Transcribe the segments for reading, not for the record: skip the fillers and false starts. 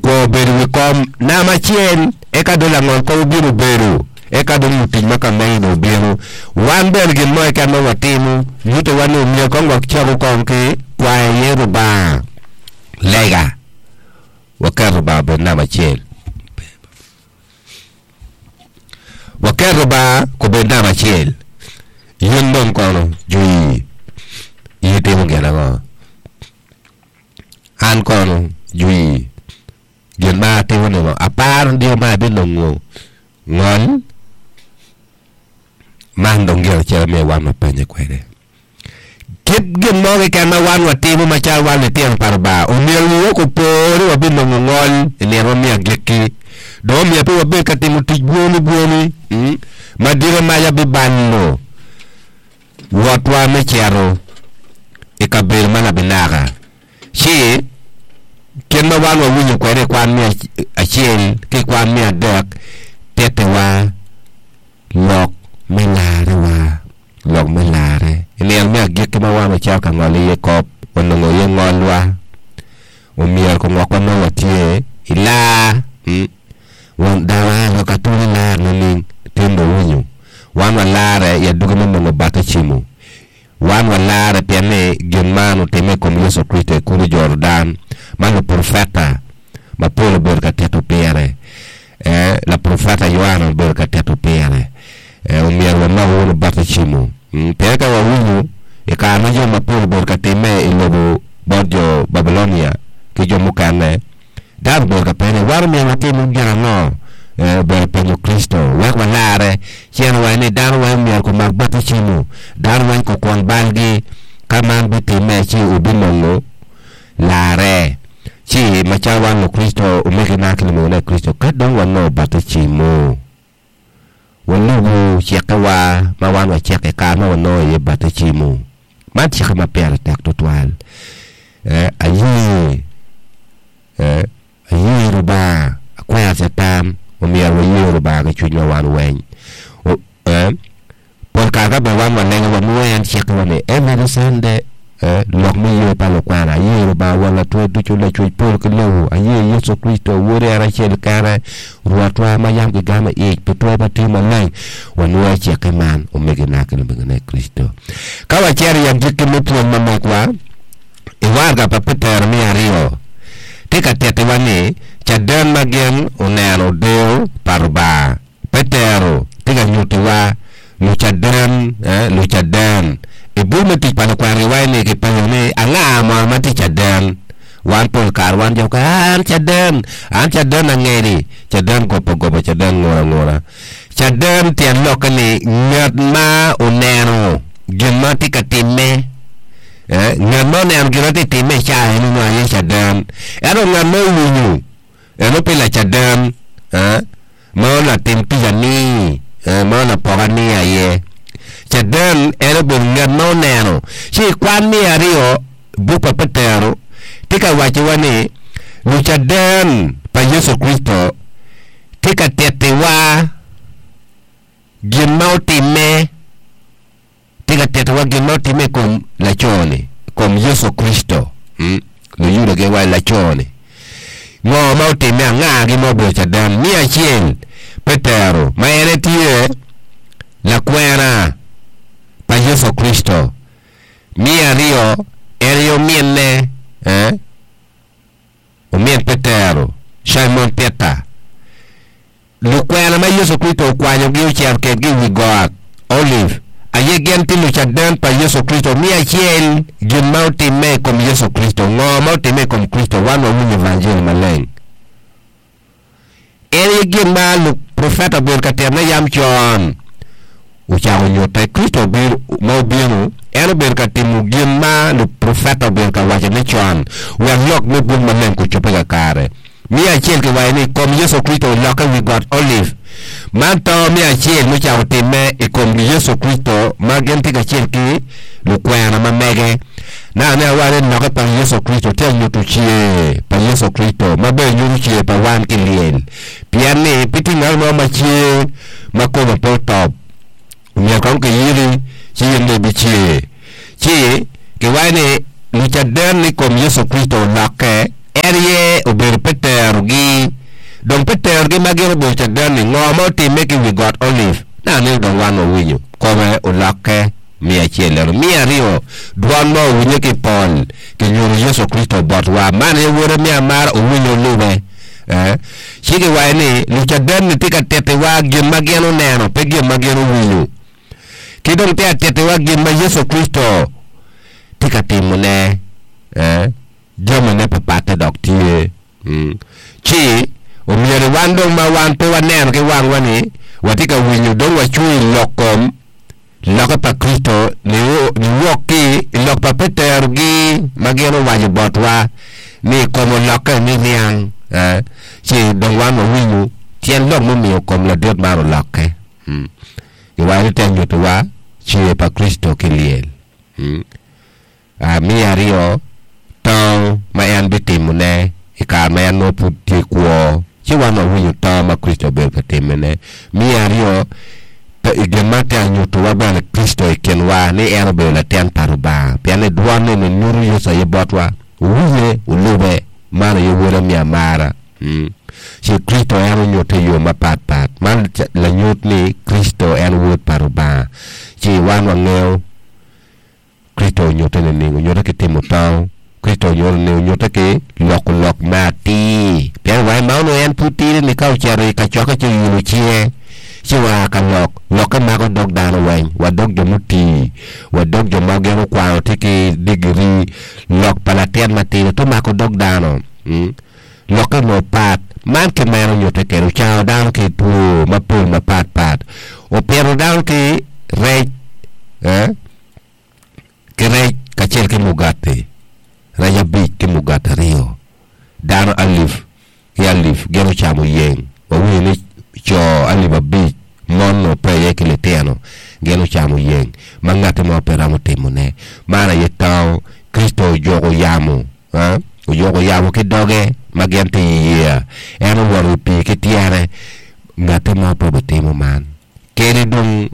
Okwongo bedo i wi kom namba acel, eka dong langol kom obino obedo, eka dong lutic ma ka megi dong obino. Wan bene gin mo keken ma watimo nyutowa ni omyero kong wacaku kong ki kwayo iye Rubanga lega, waket Rubanga obed namba acel. Waket Rubanga obed namba acel. In dong kono jwi, in itimo gin ango? An kono jwi, gin ma atimo ni aparo ni ma abinongo ngol, man dong gin acel ma myero wan wapenye kwede. Kit gin mo keken ma wan watimo macalo wan litino pa Lubanga, omyero wiwa opo ni wabinongo ngol i nino me agikki. Dong omyero pe wabed ka timo tic bwoni bwoni ma dike maca bibalo wotwa me cito i kabedo ma labinaka. Ci, kit ma wan wawinyo kwede i kwan me acel ki i kwan me adek tittiwa lok me larrewa. Lok me larre. I nino me agikki ma wan wacito ka ngolo iye kop, wanongo iye ngolwa. Omyero kongokwa nongo watye i lar. Won dano a lok atwoli lar nining? Tim dong winyo. Wan walarre i adwogi me nongo batecimo. Wan walarre pien ni gin man otimme i kom Yecu Kricito i kulu Jordan, ma luprofeta mapol obedo ka tito pire. Ee, laprofeta Yoana obedo ka tito pire. Ee, omyero walok wunu batecimo. Pien ka wawinyo i kare ma jo mapol obedo ka timme i lobo bot jo Babilonia ki jo mukene, Dano obedo ka penye ni, 'Wan omyero watim gin ango?' Ee, obedo penyo Kricito wek walarre. Ci en owaco ni, 'Dano weng myero gumak batecimo, dano weng gukwon balgi. Ka man bitimme, ci wubinongo larre. Ci macalo wan Lukricito, omegina ki lumegina i Kricito, ka dong wanongo batecimo, walubu cikkewa ma wan waciko i kare ma wanongo iye batecimo. Man cikke ma pire tek tutwal. Eh, aye, eh, aye Lubanga, akwero Catan, omyero waye Lubanga ki cwinywa wan weng. O, eh, pol kare ka bene wan walego wanwoyo en cikkewa ni every Sunday, eh, lok me ye pa lukwena, aye Lubanga Won Latwer ducu, Lacwec polo ki lobo, aye Yecu Kricito, Wode en acel kene, Rwotwa ma yam gigamo i ic pi twer pa Cwiny Maleng, wanwoyo cikke man, omegina ki lumegina i Kricito. Ka wacito i agikki me pwony ma megwa, i waraga pa Petero me aryo, tye ka tittiwa ni caden ma gin oneno deyo pa Lubanga. Petero tye ka nyutiwa lucaden, eh, lucaden. I buk me Tic pa Lukwena giwaco ni kipenyo ni, Anga mono ma tye caden? Wan pol kare wan jo mukene, An caden, an caden angedi, caden goba goba, caden ngura ngura. Caden tyen lokke ni ngat ma oneno gin ma tye ka timme. Eh, ngat ma oneno gin ma tye ka timme i caa eni nongo aye caden. Ento ngat ma owinyo, eno pe lacaden. Eh, ma latim tic ani, eh, ma lapok ani aye. Caden en obedo ngat ma oneno. Ci i kwan me aryo, buk pa Petero tye ka wacciwa ni lucaden pa Yecu Kricito tye ka tittiwa gin ma otimme. Tye ka titowa gin ma otimme i kom laco-ni, i kom Yecu Kricito. Luyuda giwaco laco-ni. Ngo ma otimme? Angagi ma obedo caden? Me acel, Petero, ma en aye tye lakwena pa Yecu Kricito. Me aryo, en aye ominne, omin Petero, Cimon Peter. Lukwena ma Yecu Kricito okwanyogi ocito kwedgi i wi Got Olive aye gin tye lucaden pa Yecu Kricito. Me acel, gin ma otimme i kom Yecu Kricito. Ngo ma otimme i kom Kricito? Wan wawinyo Evanjeli Maleng. En aye gin ma luprofeta obedo ka titone yam con ocako nyutte. Kricito ma obino, en obedo ka timo gin ma luprofeta obedo ka wacone con wek lok me buk maleng ocobbe kakare. Me acel kiwaco ni kom Yecu Kricito olokke i wi got Olive. Man to me acel mucako timme i kom Yecu Kricito ma gin tye kacel ki lukwena ma mege. Naka ne awaco ni lokke pa Yecu Kricito tye ka nyuto cer pa Yecu Kricito ma bene nyuto cer pa wan ki lyel. Pien ni pe tye ngat mo ma cer ma kome pe otop. Omyero kong kiyiki ci in dong ibicer. Ci kiwaco ni lucaden i kom Yecu Kricito olokke, en aye obedo Petero-gi. Dong Peterogi ma gin obedo caden-ni, ngo ma otimme ki i wi got Olive? Naka-ni dong wan wawinyo. Kome olokke miya acel ento 200, dwon mo owinye ki i pol, kinyuto Yecu Kricito botwa. Man aye Wode me amara, wuwinye wulube. Eh, ci kiwaco ni lucaden-ni tye ka tittiwa gin ma gin oneno, pe gin ma gin owinyo. Ki dong tye ka tittiwa gin ma Yecu Kricito tye ka timone. Eh, jamine papatte dok tye. Ci omyero wan dong ma wan pe waneno ki wangwa ni watye ka winyo dong wacung i lok kom lokke pa Kricito niwok ki i lok pa Petero-gi ma gin owaco botwa ni kom olokke ni niang, ci dong wan wawinyo tyen lok mumiyo kom ladit man olokke. Giwaco ni te nyutowa cer pa Kricito ki lyel. 200 tango ma en bitimone i kare ma en nongo pud tye kwo, ci wan wawinyo tango ma Kricito obedo ka timone. 200 pe i gin man tye anyutowa bene Kricito i kinwa ni en obedo latin pa Lubanga, pien ni dwon eni nyuto Yecu aye botwa. Wuwinye, wulube, man aye Woda me amara. Ci Kricito en onyutte i yo mapat pat. Man lanyut ni Kricito en Wod pa Lubanga. Ci wan wangeyo Kricito onyutte nining? Onyutte ki timo tango. Kricito onyutte nining? Onyutte ki loko lok me atir. Pien wa ma onongo en pud tidi-ni ka ocito i kacokke ci oyulo cinge ci oa ka lok, lokke mako dog dano weng, wa dog jo mutii, wa dog jo ma gin okwano tye ki digiri. Lok pa latin matidi to mako dog dano. Lokke onongo pat. Man kit ma en onyutte kwede, ocango dano ki two mapol mapat pat, opito dano ki rec. Ki rec kacel ki mugati, rec abic ki mugati aryo, dano alip ki alip gin ocamo yeng. Wawinyo ni co alip abic, mon onongo pe iye ki litino, gin ocamo yeng ma ngatti mo pe romo timone. Man aye tango Kricito ojuko yamo, ojuko yamo ki doge ma gin tye i yeya. En owoto i pii ki tyene, ngatti mo pe obitimo man. Kadi dong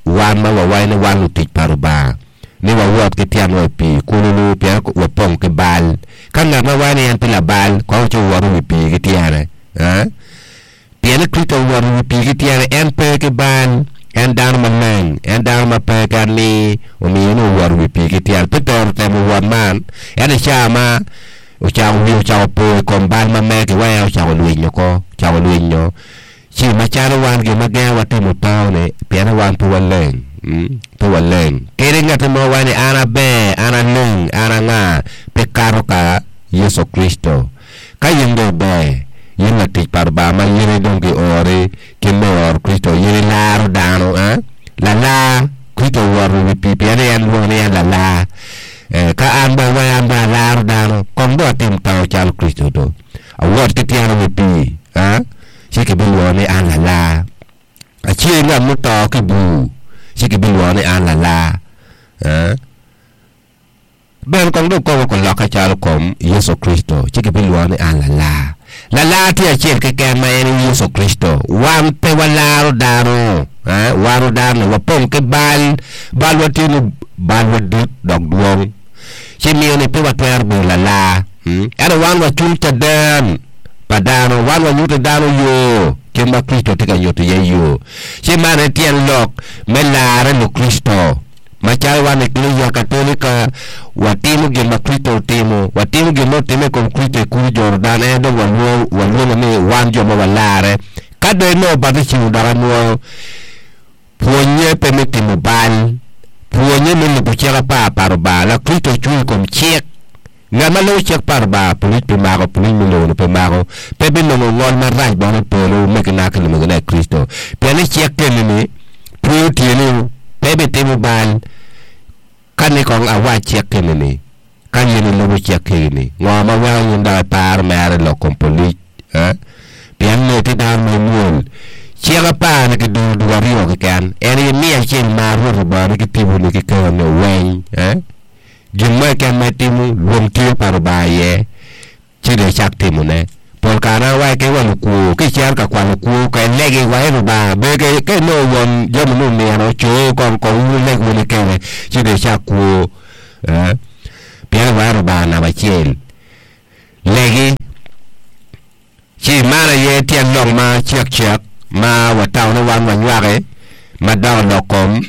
wan ma wawaco ni wan lutic pa Lubanga, ni wawot ki tyenwa i pii kululu pien wapong ki bal. Ka ngat ma waco ni en tye labal, kong ci owot i wi pii ki tyene. Pien ni Kricito owoto i wi pii ki tyene, en pe ki bal, en dano maleng, en dano ma pe ki alir, omiyo ni owoto i wi pii ki tyene. Petero otemo wot man, ento i cawa ma ocako wiye ocako po i kom bal ma mege, wa en ocako lwinyo oko, ocako lwinyo. Ci macalo wan gin ma gengowa timo to-ni, pien ni wan pe waleng, pe waleng. Kadi ngatti mo waco ni an aber, an aleng, an anga, pe kato ka Yecu Kricito. Ka in dong iber, in latic pa Lubanga ma in dong giori kit me oro Kricito, in ilaro dano, eh? Lalar, Kricito owoto i wi pii pien ni en lwongo ni en lalar. Eh, ka an bene waco an bene alaro dano, kong dong atim tango calo Kricito do. Awot ki tyena i wi pii, eh? Ci kibilwongo ni an lalar. Acer ngat muto ki i bur, ci kibilwongo ni an lalar. Eh? Bene kong dong koma olokke calo kom Yecu Kricito, ci kibilwongo ni an lalar. Lalar tye acel keken ma en aye Yecu Kricito. Wan pe walaro dano. Eh? Wano dano-ni wapong ki bal. Balwa tye ni balwa dit dok dwong. Ci miyo ni pe watwero bedo lalar. Ento wan wacung caden pa dano, wan wanyuto dano yo kit ma Kricito tye ka nyuto iye yo. Ci man aye tyen lok me larre Lukricito. Macalo wan Eklesia Katolika, watimo gin ma Kricito otimo. Watimo gin ma otimme i kom Kricito i kulu Jordan, en dong walwongo ni wan jo ma walarre. Ka dong inongo batijim dok anwoyo, Pwonnye pe me timo bal. Pwonnye me lubo cik apar pa Rubanga. Lakricito ocung i kom cik. Ngat ma lubo cik pa Rubanga, pulic pe mako, pulic me lobo-ni pe mako, pe binongo ngol marac bene i polo, omegina ki lumegina i Kricito. Pien ni cik keni-ni tweyo tyeni, pe ibitimo bal. Ka ni kong awac cik keni-ni, ka in ilubo cik keni-ni, ngo ma weko in dok iparo mere lok kom polic? Eh? Pien nongo itye dano ma imwol. Cik apar-ni kiduro dul aryo keken, en aye miyo acel mar Rwot Lubangani ki tiponi ki keroni weng. Eh? Gin mo keken ma itimo, lwong tye pa Lubanga iye. Ci dong icak timone. Pol kare an awaco ki wa lukwo, ka icito ka kwalo kwo, ka ilegi wa i Lubanga, ber ka inongo won jami ni omino, co kong kong wun wuleg wunu kene, ci dong icak kwo. Eh, pien iwaco Lubanga namba acel. Legi. Ci man aye tyen. kong ma cek cek ma watamo ni wan wanywaki ma dok i lok kom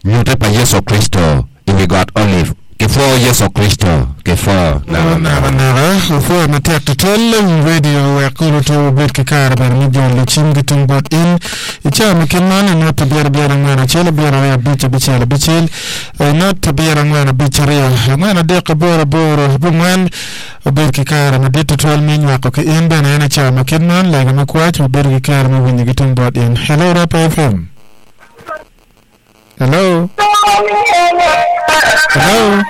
nyute pa Yecu Kricito i wi got Olive. Kipwo Yecu Kricito, kipwo Naka nakanaka. naka, wapwoyo matek tutwal i radio wek kulu to wubed ki kare bene me jolo cim ki tung bot in. I cawa ma kit man, i not abiro abiro angwen acel abiro aryo abic abicel abicel, i not abiro angwen abic aryo angwen adek aboro aboro abongwen, wubed ki kare madit tutwal me nywako ki in bene en i cawa ma kit man, lega me kwac, wabedo ki kare me winyo ki tung bot in. Hello, Rapa FM. Hello? Hello?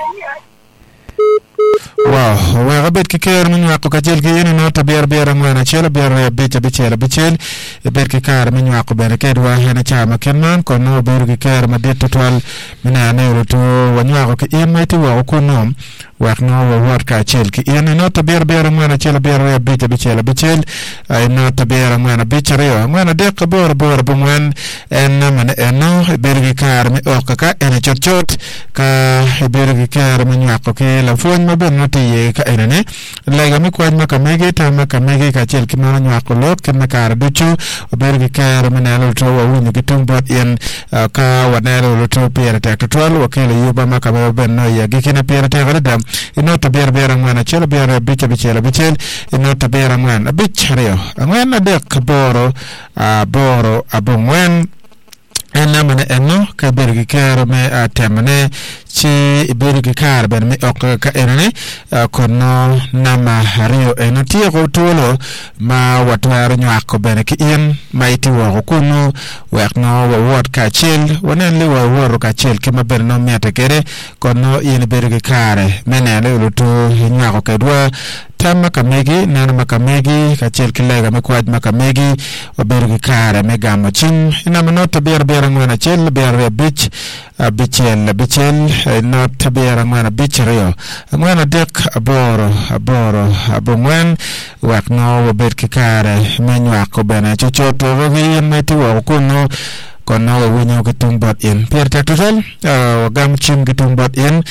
Wow, wek abed ki ker me nywako kacel ki in i not abiro abiro angwen acel abiro aryo abic abicel abicel ibed ki kare me nywako bene kedwa en i cawa ma kit man kon nongo wabedo ki kero madit tutwal me neno ni oluto wanywako ki in ma itye woko kunnu Wek nongo wawot kacel ki in i not abiro abiro angwen acel abiro aryo abic abicel abicel i not abiro angwen abic aryo angwen adek aboro aboro abongwen en namane eno ibedo ki kare me ok ka eni cutcut ka ibedo ki kero me nywako ki lapwony ma bene nongo tye iye ka enini lega me kwac ma ka megi tam ma ka megi kacel ki meno nywako lok kit me kare ducu wabedo ki kero me neno luto wawinyo ki tung bot in Ka waneno luto pire tek tutwal, wakelo yubba ma ka ma bene nongo i agikkine pire tek adada. I not abiro abiro angwen acel abiro aryo abic abicel abicel, i not abiro angwen abic aryo angwen adek aboro aboro abongwen. En namane eno ka ibedo ki kero me temone ci ibedo ki kare bene me ok ka enoni kun nongo namba aryo eno tyeko twolo ma watwero nywako bene ki in ma itye woko kunnu wek nongo wawot kacel, wanen ni wawoto kacel kit ma bene nongo mitte kwede, kun nongo in ibedo ki kare me neno ni oluto inywako kwedwa tam ma ka megi, neno ma ka megi, kacel ki lega me kwac ma ka megi. Wabedo ki kare me gamo cim i namba not abiro abiro angwen acel abiro aryo abic abicel abicel not abiro angwen abic aryo angwen adek aboro aboro abongwen wek nongo wabed ki kare me nywako bene cucut ki in ma itye woko kunnu kun nongo wawinyo ki tung bot in. Pire tek tutwal wagamo cim ki tung bot in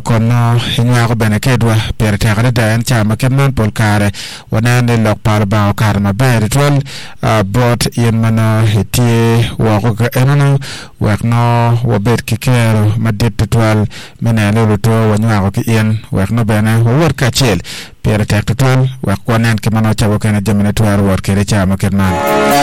kun nongo inywako bene kedwa. Pire tek adada en ca ma kit man pol kare waneno ni lok pa Lubanga okato maber tutwal bot in ma nongo itye woko ka enonu wek nongo wabed ki kero madit tutwal me neno ni oluto wanywako ki in wek nongo bene wawot kacel. Pire tek tutwal wek wanen kit ma nongo ca mukene jamine twero wot kwede ca ma kit man.